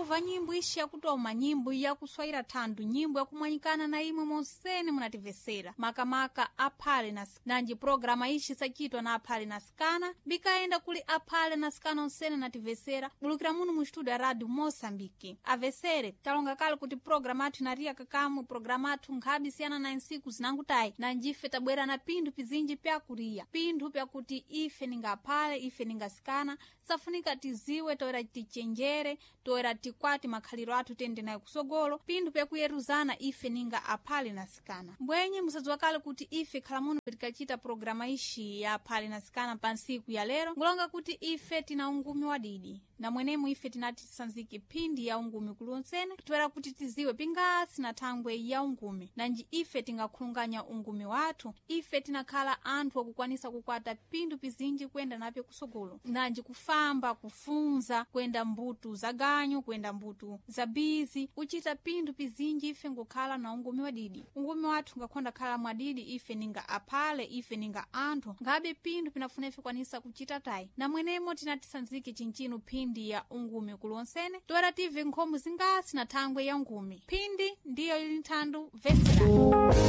Kuva nyimbo ishi yakutoma, nyimbo yakuswayira thandu, nyimbo yakumwanyikana na imwe monsene munativesera, makamaka aphale na nanji programa ishi sachitwa na aphale na sikana bikaenda kuli aphale na sikana onsene nativesera bulukira muno mu studio ya Radio Moçambique. Avesere, talonga kale kuti programa athu inariya kakamwe, programa athu nkhabi siyana na nsiku zinangutayi, nanjife tabwera na pinthu pizinji pyakuriya, pinthu pyakuti ife ningaphale, ife ningasikana safunika tiziwe, toera tichenjere, toera tikwati makhaliro athu tiyende nayo kusogolo, pinthu pyakuyeruzana ife ninga aphale na sikana. Mbwenye musadziwa kale kuti ife khala muno tikachita programa ishi ya aphale na sikana pa nsiku ya lero, ngulonga kuti ife tina ungumi wadidi na mwenemu ife tinati tisanzike phindi ya ungumi kulonsene, toera kuti tiziwe pingasi na thangwe ya ungumi, nanji ife tingakhulunganya ungumi wathu. Ife tinakhala anthu akukwanisa kukwata pinthu pizinji kuyenda napyo kusogolo, nanji kufamba, kufunza, kuyenda mbutu za ganyu, kuyenda mbutu za bizi, kuchita pinthu pizinji ife ngukhala na ungumi wadidi. Ungumi wathu ngakhonda khala mwadidi, ife ninga aphale, ife ninga anthu ngabe pinthu pinafuna ife kwanisa kuchita tayi, na mwenemo tinatisanzike chinchinu phindi ya ungumi kulonsene, toera tive nkhomo zingasi na thangwe ya ungumi. Phindi ndiyo ili nthandu veserani.